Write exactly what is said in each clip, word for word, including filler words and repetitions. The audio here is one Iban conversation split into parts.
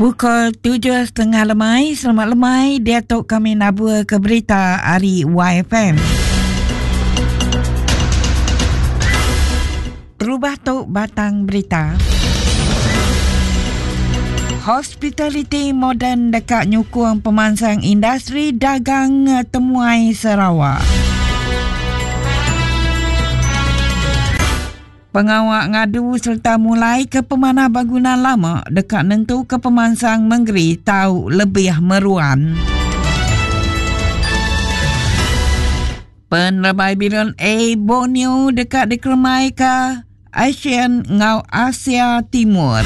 Pukul tujuh setengah lemai, selamat lemai, dia tu kami nabur ke berita hari Y F M. Terubah tu batang berita. Hospitality moden dekat nyukung pemansang industri dagang temuai Sarawak. Pengawak ngadu serta mulai ke pemanah bangunan lama dekat nentu ke pemansang Mengeri tau lebih meruan. Penerbai Bilion A Borneo dekat dikeremai ke ASEAN ngau Asia Timur.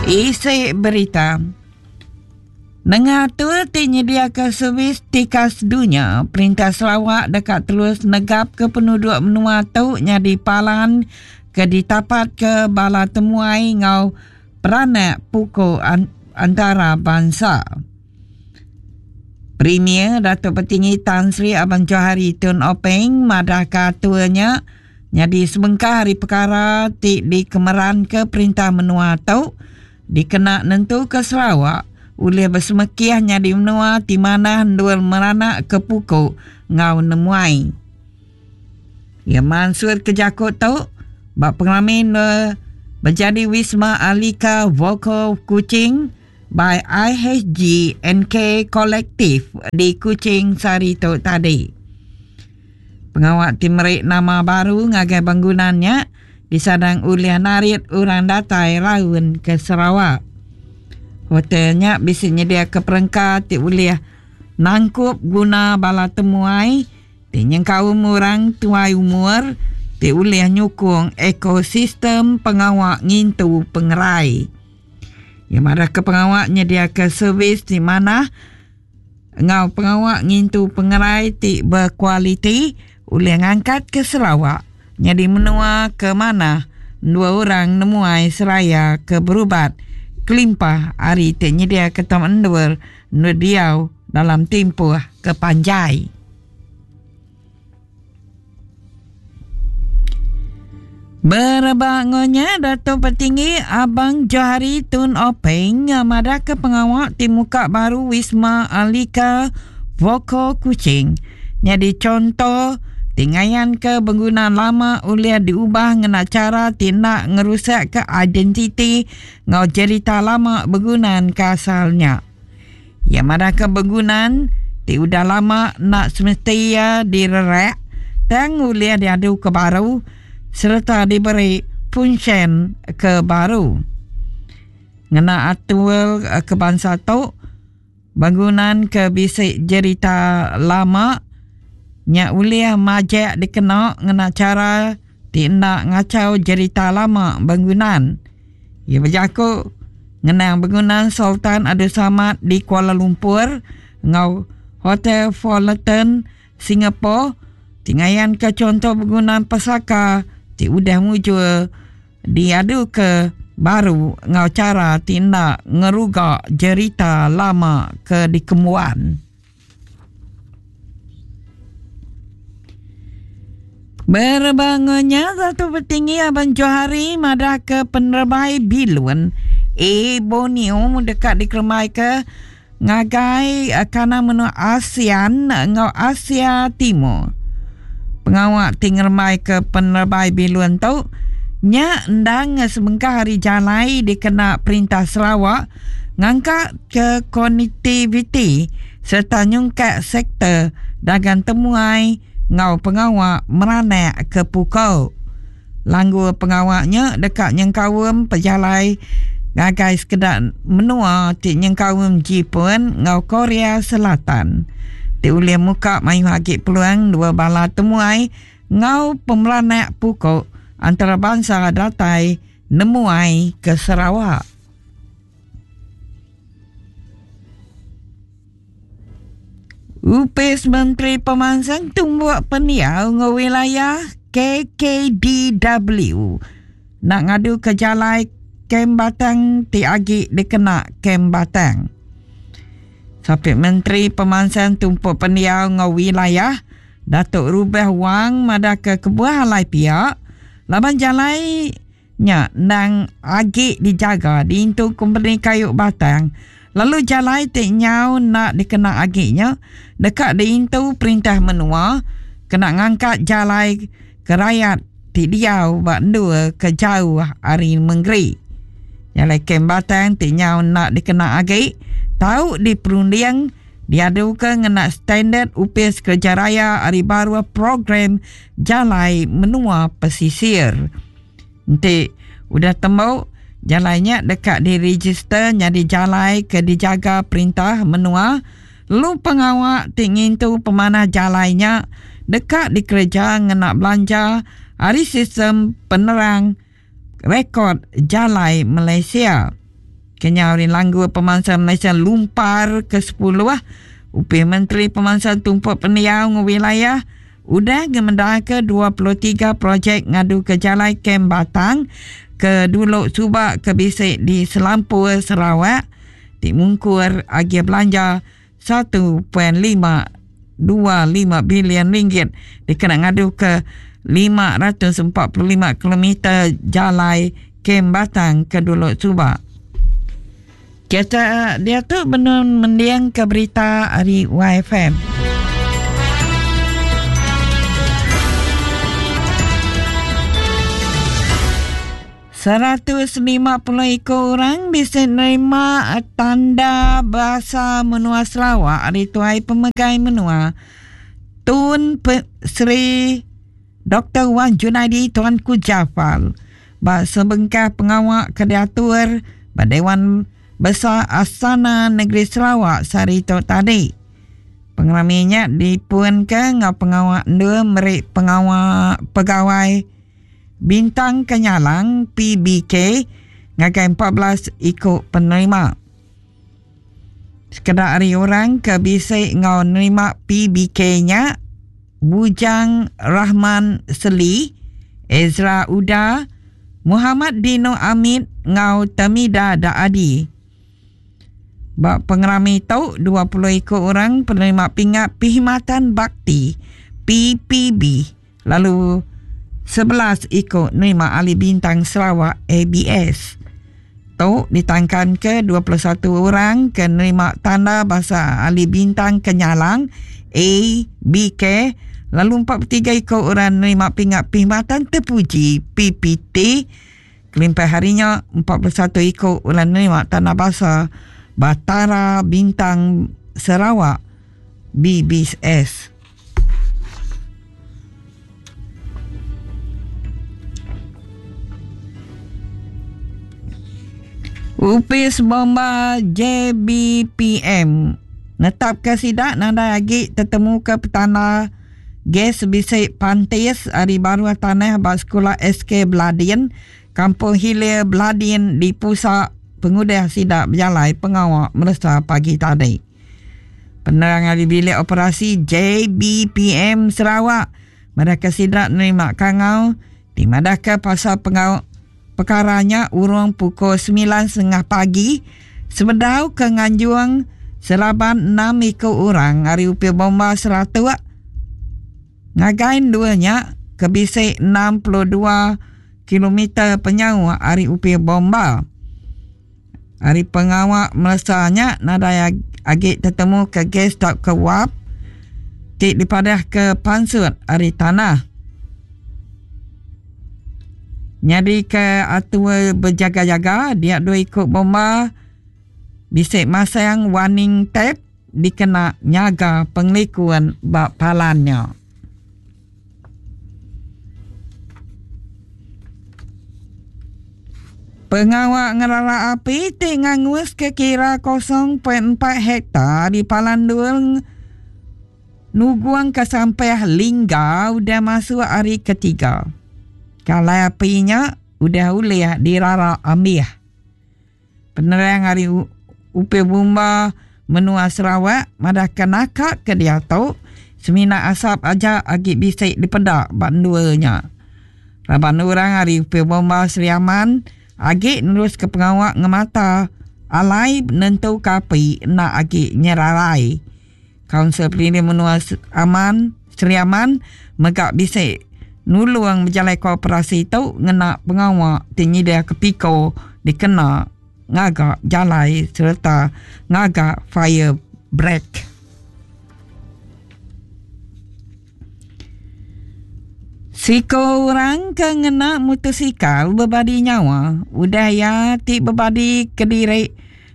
Isi berita. Nengatur ti nyediakan servis tikas dunia, Perintah Sarawak dekat terus negap ke penduduk menua tu nyadi palan ke ditapat ke bala temuai ngau peranak pukul an- antara bangsa. Premier Datuk Petinggi Tan Sri Abang Johari Tun Openg madah katuanya nyadi sebengkah hari perkara ti dikemeran ke Perintah menua tu dikena nentu ke Sarawak ulih bersemekiah nyadi menua ti manah ndul meranak ke pukul ngau nemuai. Ya Mansur ke jakut tu bak pengalaman berjadi Wisma Alika Vokal Kuching by I H G N K Collective di Kuching sehari tu tadi. Pengawak ti merik nama baru ngagai bangunannya disadang ulih narit orang datai raun ke Sarawak. Hotelnya bisa nyedia ke perengka ti ulih nangkup guna bala temuai ti nyengkaum orang tuai umur ti ulih nyukung ekosistem pengawak ngintu pengerai. Yang marah ke pengawak nyedia ke servis di mana ngau pengawak ngintu pengerai ti berkualiti ulih ngangkat ke Sarawak nyadi menua ke mana dua orang nemuai seraya ke berubat kelimpah hari ti nyedia ke tam endur nu diau dalam tempoh kepanjai. Berbangunnya Datuk Petinggi Abang Johari Tun Openg madah ke pengawak ti muka baru Wisma Alika Vokal Kuching. Jadi contoh tingayan ke bangunan lama ulih diubah ngena cara tindak ngerusak ke identiti ngau cerita lama bangunan kasalnya. Ya madah ke bangunan ti udah lama nak semestinya direrek tang ulih diadu ke baru serta diberi fungsi ke baru. Ngena atur ke bangsa tu bangunan ke bisik cerita lama nya ulih majak dikena ngena cara tindak ngacau cerita lama bangunan. Ia berjaku ngenang bangunan Sultan Abdul Samad di Kuala Lumpur ngau Hotel Fullerton Singapore tingayan ke contoh bangunan pesaka ti udah mujur diadu ke baru ngau cara tindak ngerugak cerita lama ke dikemuan. Berbangunnya satu petinggi Abang Johari madah ke penerbai bilun A Borneo dekat dikeremai ke ngagai kana menua ASEAN ngau Asia Timur. Pengawak tingermai ke penerbai bilun tu nya endang sebengkah hari jalai dikena Perintah Sarawak ngangkat ke konektiviti serta nyungkak sektor dagang temuai ngau pengawak meranak ke pukul. Langgu pengawaknya dekat nyengkawem pejalai ngagai sekedak menua ti nyengkawem Jepun ngau Korea Selatan. Ti ulih muka mayu hagi peluang dua bala temuai ngau pemeranak pukul antarabangsa datai nemuai ke Sarawak. Upis Menteri Pemansang Tumbuk Pendiau ngau wilayah K K D W nak ngadu ke jalai Kem Batang ti agi dikena Kem Batang. Sapit Menteri Pemansang Tumpuk Pendiau ngau wilayah Datuk Rubeh Wang madah ke kebuah alai pihak Laban jalai nya nang agi dijaga diintu company kayu batang. Lalu jalai ti nyau nak dikena agi nya dekat diintu perintah menua kena ngangkat jalai ke rakyat ti diau bak dua ke jauh hari menggeri. Jalai kem batang ti nyau nak dikena agi tau diperunding diadu ke ngena standard upis kerja raya hari baru program jalai menua pesisir. Nanti udah temu jalainya dekat diregister jadi jalai ke dijaga perintah menua. Lalu pengawak ti ngintu pemanah jalainya dekat dikerja ngena belanja hari sistem penerang rekod jalai Malaysia. Kenya hari langgu pemangsa Malaysia lumpar ke sepuluh. Upih Menteri Pemangsa Tumpuk Pendiau ngu wilayah udah gemendah ke dua puluh tiga projek ngadu ke jalai Kem Batang ke dulu subak ke bisik di Selampur Sarawak ti mungkur agi belanja satu perpuluhan lima dua lima bilion ringgit dikena ngadu ke lima ratus empat puluh lima kilometer jalai Kem Batang ke dulu subak. Kita dia tu benun mendiang ke berita hari Y F M. Seratus lima puluh ekor orang bisa nerima tanda bahasa menua Sarawak hari tuai pemegai menua Tun Pe- Seri Doktor Wan Junaidi Tuanku Jaafar. Ba sebengkah pengawak kediatur ba Dewan Besar Astana Negeri Sarawak sehari tu tadi. Pengeraminya dipun ke ngau pengawak dua merik pengawak pegawai Bintang Kenyalang P B K ngagai empat belas ikut penerima. Sekedar hari orang ke bisik ngau nerima P B K-nya Bujang Rahman Seli, Ezra Uda, Muhammad Dino Amit ngau Tamida Daadi. Bak pengerami tu dua puluh ikut orang penerima pingat Perkhidmatan Bakti P P B lalu sebelas ikut nerima ahli bintang Sarawak A B S. Tu ditangkan ke dua puluh satu orang ke nerima tanda bahasa ahli bintang Kenyalang A B K lalu empat puluh tiga ikut orang nerima pingat perkhidmatan terpuji P P T. Kelimpah harinya empat puluh satu ikut orang nerima tanda bahasa Batara Bintang Sarawak B B S. Upis Bomba J B P M netap ke sidak nanda lagi tetemu ke petana gas bisik pantis hari baru tanah bak sekolah S K Beladin, Kampung Hilir Beladin di pusat pengudah sidak berjalai pengawak meresa pagi tadi. Penerangan di bilik operasi J B P M Sarawak mereka sidak nerima kangau di madahkan pasal pengawak perkaranya urung pukul sembilan setengah pagi sebedau ke Nganjuang selaban enam ikut orang hari upil bomba seratus ngagain duanya ke bisik enam puluh dua kilometer penyau hari upil bomba. Hari pengawak meresanya nadai agi tetemu ke gas tak ke wap tik dipadah ke pansut hari tanah. Nyadi ke atur berjaga-jaga dia dua ikut bomba bisik masang warning tape dikena nyaga pengelikuan bak palannya. Pengawak ngerara api ti ngangus ke kira kosong perpuluhan empat hektar di Palandul Nuguang ke sampai Lingga udah masuk hari ketiga. Kalau apinya udah uliah dirara ambiah. Penerang hari Upi Bumba menua Sarawak madah kenakak ke dia tu semina asap aja agi bisik dipedak banduanya. Raban orang hari Upi Bumba Sri Aman agi nerus ke pengawak ngemata alai nentu kapi nak agi nyerarai. Kaunsil Pelindung Menua Aman Sri Aman megak bisik Nuluang berjalai kooperasi tu ngena pengawak tinggi dia ke piko dikena ngagak jalai serta ngagak fire break. Siko orang ke ngena motosikal berbadi nyawa udah ya ti berbadi kediri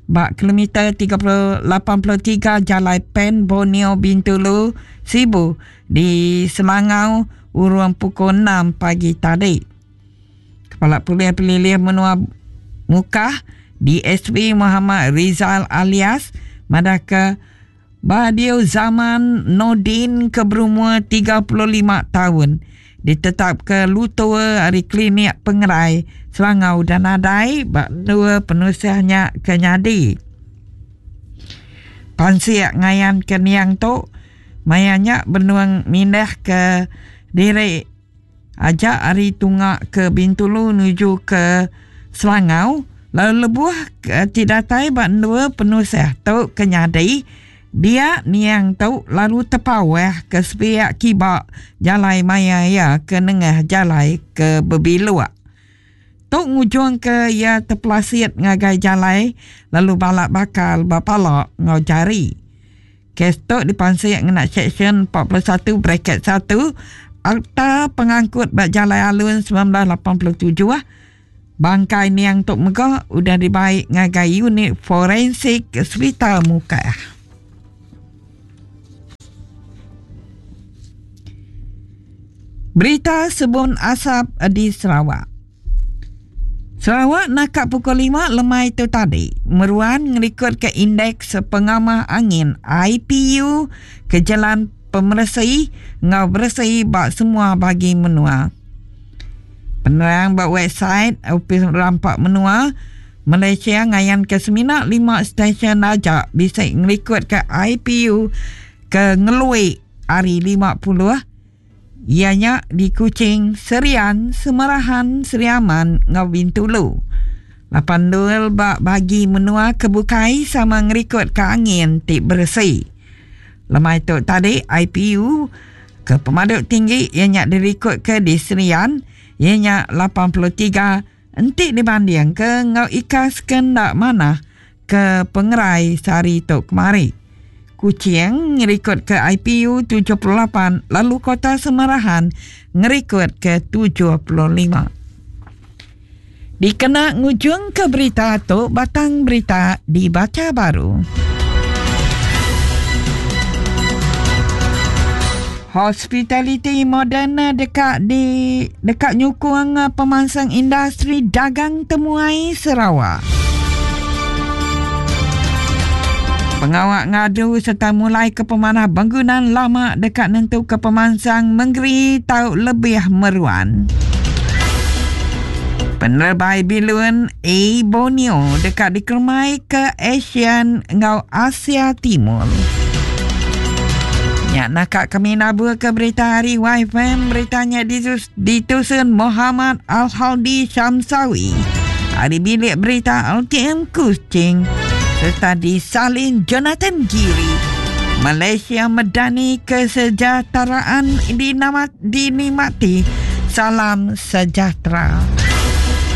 bak kilometer tiga puluh lapan puluh tiga Jalai Pen Borneo Bintulu Sibu di Selangau urang pukul enam pagi tadi. Kepala Polis Pelilih Menua Mukah D S P Muhammad Rizal alias madaka Badiu Zaman Nordin ke berumur tiga puluh lima tahun ditetap ke Lutua hari klinik pengerai Selangau dan Adai bak dua penusiahnya kenyadi. Pansiak ngayan ke niang tu mayanya benuang mindah ke diri ajak hari tungak ke Bintulu menuju ke Selangau lalu lebuh ke tidak tai bak dua penusiah tu kenyadi. Dia niang tu lalu terpawah ke sepiak kibak jalai maya ya ke nengah jalai ke berbiluak. Tu ngujung ke ia terpelasit ngagai jalai lalu balak bakal bapalak ngau jari. Kes tu dipansik ngena seksyen empat puluh satu bracket satu Akta Pengangkut bak Jalai Alun sembilan belas lapan puluh tujuh. Bangkai niang tu mega udah dibaik ngagai unit forensik Hospital Mukah. Berita sebun asap di Sarawak. Sarawak nakak pukul lima lemai itu tadi. Meruan ngelikut ke indeks pengamah angin I P U ke jalan pemersi ngau bersih bak semua bagi menua. Penerang bak website Ofis Rampak Menua Malaysia ngayan ke semina lima stesen aja bisa ngelikut ke I P U ke ngelui hari lima puluh. Ianya di Kuching, Serian, Semerahan, Seriaman, ngau Bintulu. Lapan dua bak bagi menua kebukai sama ngerikut ke angin ti bersih. Lemai tu tadi I P U ke pemaduk tinggi ianya dirikut ke di Serian, ianya lapan puluh tiga entik dibanding ke ngau ikas kendak mana ke pengerai sehari tu kemari. Kuching ngerikut ke I P U tujuh puluh lapan, lalu Kota Semerahan ngerikut ke tujuh puluh lima. Dikena ngujung ke berita tu, batang berita dibaca baru. Hospitality moden dekat di dekat nyukung pemansang industri dagang temuai Sarawak. Pengawak ngadu serta mulai ke pemanah bangunan lama dekat nentu ke pemansang mengeri tau lebih meruan. Penerbai bilun A Borneo dekat dikermai ke ASEAN ngau Asia Timur. Ya, nakak kami nabur ke berita hari Y F M, beritanya ditus, ditusun Muhammad Al-Haldi Syamsawi. Hari bilik berita L T M Kuching serta disalin Jonathan Giri. Malaysia medani kesejahteraan dinikmati. Salam sejahtera.